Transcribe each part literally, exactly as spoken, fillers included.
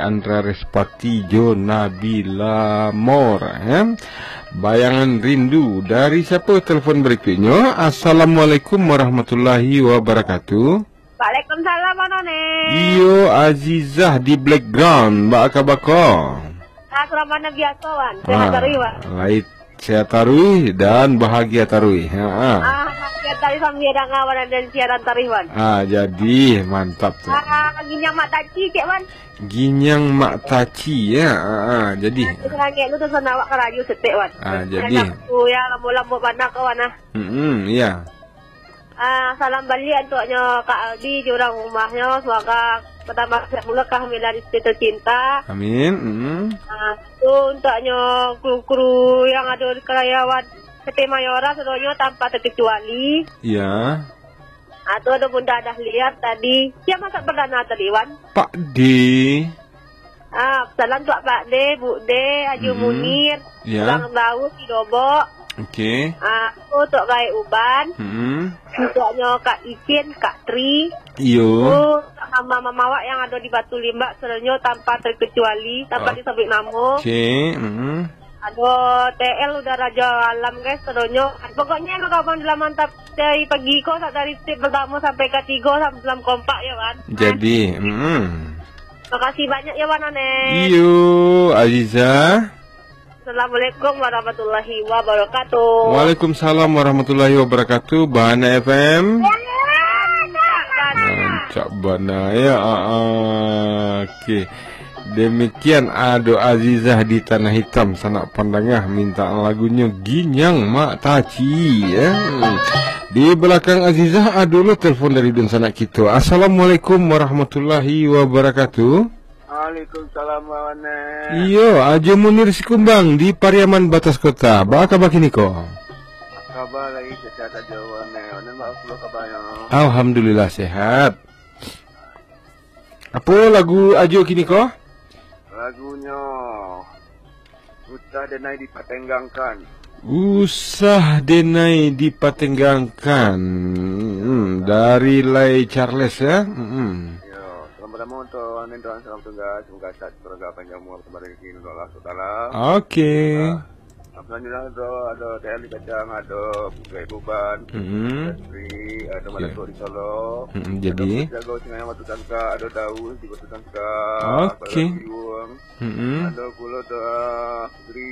Andra Respati jo Nabila Mor, eh. Bayangan Rindu. Dari siapa telepon berikutnya? Assalamualaikum warahmatullahi wabarakatuh. Waalaikumsalam, Wan One. Iyo, Azizah di background. Baa kaba ko? Ah, surang bana biaso, Wan. Sehat taruih, Wan. Lai sehat taruih dan bahagia taruih. Ha, ha. Ah, sehat taruih sambia danga, Wan, dan siaran taruih, Wan. Ah, jadi mantap tu. Ah, ginyang mak taci, cek, Wan. Ginyang mak taci, ya. Ha, ha, jadi. Ah, serangek lu tu sana awak karajo setek, Wan. Ah, jadi. Aku ya, lambo-lambo bana ko, Wan, ah. Mm-mm, ya. Ah, salam baliak untuknyo Kak Aldi jo urang rumahnyo. Semoga batambah sehat pulo kehamilan isteri tercinta. Amin. Mm. Ah, tu untuknyo kru-kru yang ado di karyawan P T Mayora sadonyo tanpa terkecuali. Ya. Ah, tu ado Bunda Dahlia tadi. Sia masak perdana tadi, Wan? Pak D. Ah, salam untuak Pak De, Bu De, Aju Mm-mm. Munir, Ya. Bang Daud di Dobok. Okey. Ah, tu untuak Gaek Uban. Mm-mm. Untuaknyo Kak Icin, Kak Tri. Iyo. Tu untuak mama-mama awak yang ado di Batu Limbak, sadonyo tanpa terkecuali, tanpa Oh. disebut namo. Okey. Mm-mm. Ado T L udah Raja Alam, guys, sadonyo. Pokoknya, kalau abang dalam mantap dari pagi ko, sa-, dari step pertama sampai ketiga, salam kompak ya, Wan. Jadi, mm. Makasih banyak ya, Wan One. Iyo, Aziza. Assalamualaikum warahmatullahi wabarakatuh. Waalaikumsalam warahmatullahi wabarakatuh. Bahana F M. Rancak bana ya. Ah, ah. Okey. Demikian ado Azizah di Tanah Hitam, sanak pandanga mintaan lagunyo Ginyang Mak Taci, ya. Di balakang Azizah ado lo telepon dari dunsanak kito. Assalamualaikum warahmatullahi wabarakatuh. Waalaikumsalam, Wan One. Iyo, Ajo Munir Sikumbang di Pariaman Batas Kota. Baa kaba kini ko? Kaba lai sehat ajo, Wan One. Wan One, baa pulo kabanyo? Alhamdulillah, sehat. Apo lagu Ajo kini ko? Lagunyo Usah Denai Dipatenggangkan. Usah Denai Dipatenggangkan. Hmm, dari Lai Charles, ya. Hmm. Yo, salam pertama untuk Wan One, salam tugas, semoga sehat, semoga panjang umur, tambah rezeki untuk Allah Subhanahu wa Taala. Okey. Ah, Selanjutnya tu ado T L di Kacang, ado Putri Buban, Mm-mm. Industri, ado Ya. Malatok di Solo, Mm-mm, ado jadi. Putri Jago Sungai Batu Sangka, ado Daus di Batu Sangka, Okey. Kuala Luyuang, Mm-mm. ado pulo tu, ah, Putri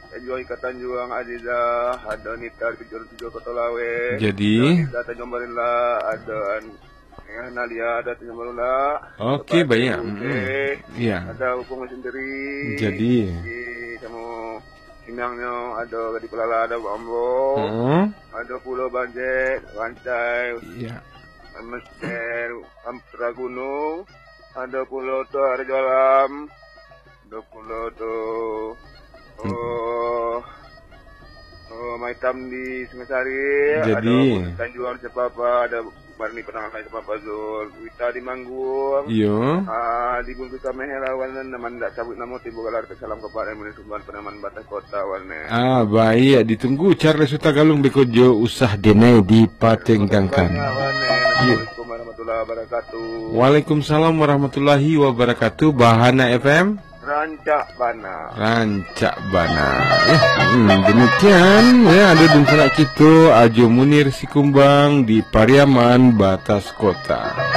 Tanjuang Ikat Tanjuang, Aziza, ado Nita di Tujuh Tujuh Koto Laweh, Jadi. ado Nita Tanjung Barila, ado an-, Ya, Nalia ado Tanjung Barula. Okey, Lepas banyak. tu, Mm-mm. okey. Ya. Ada Upung sendiri. Jadi. Di samo Pinangnyo, ado Gadih Pelala, ado Bang Ambo. Mm-mm. Ado pulo Bang Jack, Rancai. Ya. Mestel, Ampera Gunung. Ado pulo tu Rajo Alam. Ado pulo tu, Hmm. oh, oh, Maitam di Sungai Sari, Jadi. ado Tanjuang di Sepapa, ado Barni Penangah di Sepapa Zul, Wita di Manggung, Iyo. ah, di Bungkus Sameh lah, Wan, nan indak sabuik namo, timbul galar, salam kepada Mulia Sumban, Penaman Batas Kota, Wan, eh. Ah, baik, ditunggu Charles Hutagalung beko jo Usah Denai Dipatenggangkan. Banyak, Wan, eh. Iyo. Assalamualaikum warahmatullahi wabarakatuh. Waalaikumsalam warahmatullahi wabarakatuh. Bahana F M. Rancak bana. Rancak bana. Ya, hmm, demikian, ya, ado dunsanak kito, Ajo Munir Sikumbang di Pariaman Batas Kota.